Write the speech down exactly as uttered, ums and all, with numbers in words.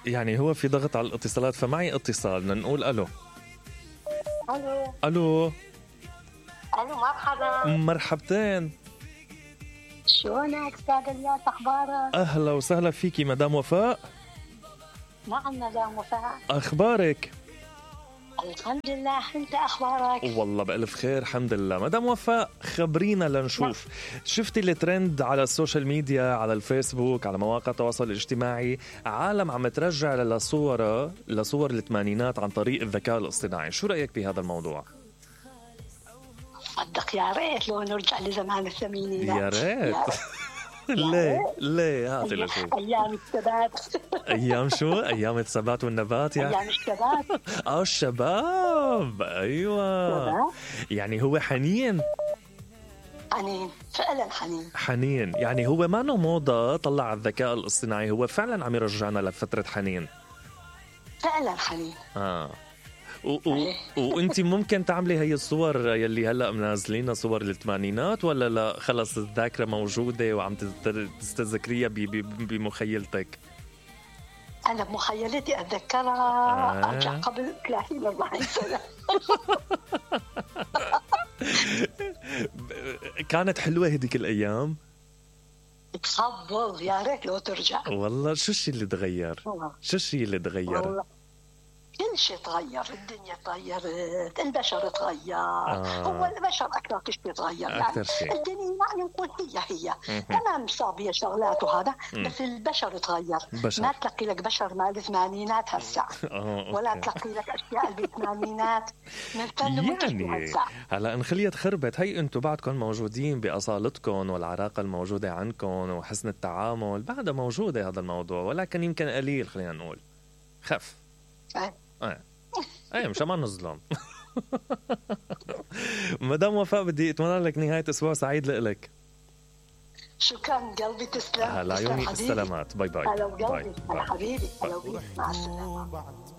يعني هو في ضغط على الاتصالات، فمعي اتصال، بدنا نقول الو. الو الو الو مرحبا. مرحبتين. شلونك استاذ الياس، اخبارك؟ اهلا وسهلا فيكي مدام وفاء. نعم مدام وفاء. اخبارك؟ الحمد لله، انت اخبارك؟ والله بألف خير الحمد لله. مدام وفاء خبرينا لنشوف، شفتي الترند على السوشيال ميديا، على الفيسبوك، على مواقع التواصل الاجتماعي، عالم عم ترجع لصورة لصور الثمانينات عن طريق الذكاء الاصطناعي، شو رأيك بهذا الموضوع؟ صدق يا ريت لو نرجع لزمان الثمانينات. يا ريت. ليه ليه هاتي لشوف. ايام الثبات. ايام شو؟ ايام الثبات والنبات يعني. ايام الشباب. اه الشباب، ايوه شباب. يعني هو حنين حنين فعلا، حنين حنين يعني هو ما نو موضة طلع الذكاء الاصطناعي، هو فعلا عم يرجعنا لفترة حنين. فعلا حنين. اه و- و- وانتي ممكن تعملي هي الصور يلي هلا منازلينها صور الثمانينات، ولا لا خلص الذاكرة موجودة وعم تت- تستذكريها ب- ب- بمخيلتك؟ انا بمخيلتي اتذكرها. آه. ارجع قبل ثلاثين أربعين سنة. كانت حلوة هديك الأيام. تخبل، يا ريت لو ترجع. والله شو الشيء اللي تغير؟ والله. شو الشيء اللي تغير؟ والله كل شيء تغير، الدنيا تغيرت، البشر تغير. آه. هو البشر أكثر شيء تغير أكثر يعني. شيء. الدنيا يعني نقول هي هي مهم. تمام، صار بيها شغلات وهذا، مم. بس البشر تغير. بشر. ما تلقي لك بشر مال الثمانينات هسه، آه، ولا أوكي. تلقي لك أشياء اللي بالثمانينات نستنى يعني هسه. هلا انخليت خربت، هي انتم بعدكم موجودين باصالتكم والعراقه الموجوده عندكم وحسن التعامل بعدها موجوده هذا الموضوع، ولكن يمكن قليل، خلينا نقول خف. أه. ايه ايه مشان ما نظلم. مدام وفاء بدي اتمنى لك نهايه اسبوع سعيد لك. شكرا قلبي، تسلم. هلا تسلم عيوني حبيبي. السلامات، باي باي. هلا باي وقلبي، هلا باي. حبيبي، هلا وقلبي، مع السلامة.